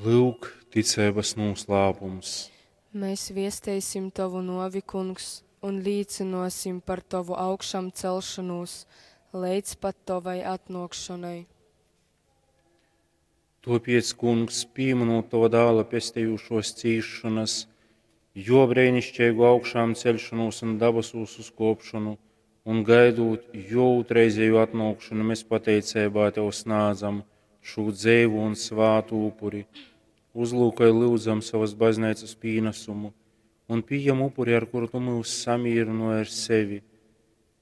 Lyuk, ticeibas nūslāpums. Mēs viesteisim Tovu nuovi, Kungs, un līcynuosim par Tovu augšamcelšonūs leidz pat Tovai atnuokšonai. Tuopiec, Kungs, pīmynūt Tova Dāla pestejušuos cīsšonas, Juo breinišķeigu augšām ceļšanos un dabasūs uzkopšanu, un gaidūt Juo ūtrreizeju atnuokšanu, mēs pateiceibā Tev snādzam šū dzeivu un svātu upuri. Uzlūkoj, lyudzam, sovas bazneicas pīnasumu un pījem upuri, ar kuru Tu myus samīrynuoji ar sevi,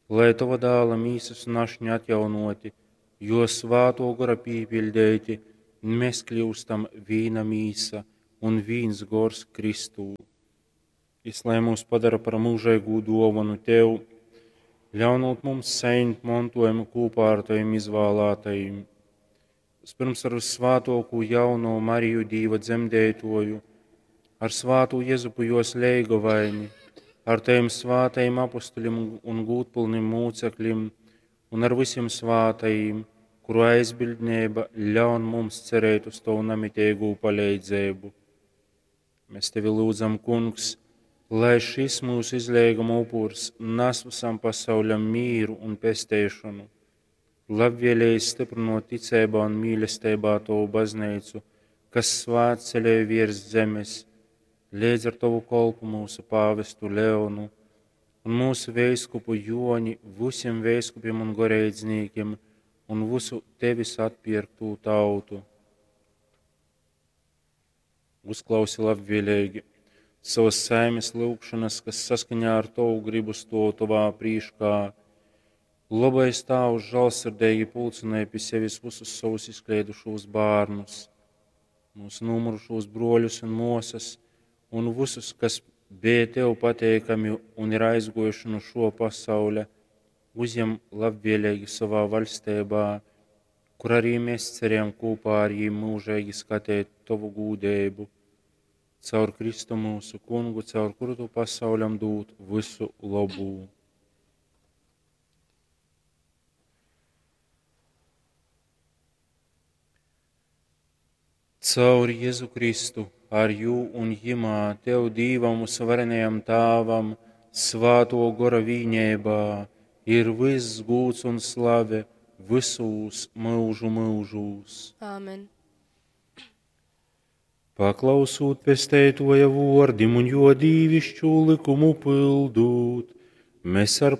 lai Tova Dāla mīsas un ašņa atjaunoti, Juo svātuo gora pīpiļdeiti, mēs kļūstam vīna mīsa un vīns gors Kristū. Jis lai mūs padara par mūžīgū duovanu Tev, ļaunot mums saņemt montojumu kopā ar Tavim izvēlētajiem. Vispirms ar visvātoko jauno Mariju Dīva dzemdētoju, ar svātu Jezupu jos leigovaini, ar Tavim svātajiem apustuļiem un gūdpilnim mūcekļiem un ar visiem svātajiem, kuru aizbildnība ļaun mums cerēt uz Tavu namitīgo palīdzību. Mēs Tevi lūdzam, Kungs, lai šis mūsu izlīguma upurs nes visam pasauļam mīru un pesteišanu, labvēlīgi stiprinot ticībā un mīlestībā Tavu baznīcu, kas svētceļoja virs zemes, līdz ar Tavu kolpu mūsu pāvestu Leonu un mūsu veiskupu Joni, visiem veiskupiem un goreidznīkiem un visu Tevis atpirktu tautu. Uzklausi labvēlīgi savas saimes lūgšanas, kas saskaņā ar Tavu gribu stāv Tavā prīškā. Labais Tēvs žēlsirdīgi pulcināja pie sevis visus savus izklīdušos bērnus, mūsu nomurušos broļus un māsas, un visus, kas bija Tev pateikami un ir aizgojuši no šo pasaules, uzņem labvēlīgi savā valstībā, kur arī mēs cerējam kopā ar viņiem mūžīgi skatīt Tavu gūdību. Caur Kristu mūsu kungu, caur kuru Tu pasauļam dūt visu labu. Caur Jēzu Kristu, ar jū un jimā, Tev Dīvam uzvarenajam Tāvam, svāto gora vīņēbā, ir viss gūds un slave visūs mūžu mūžūs. Āmen. Paklausūt pesteitoja vordim un jo dīvišķu likumu pildūt, mēs ar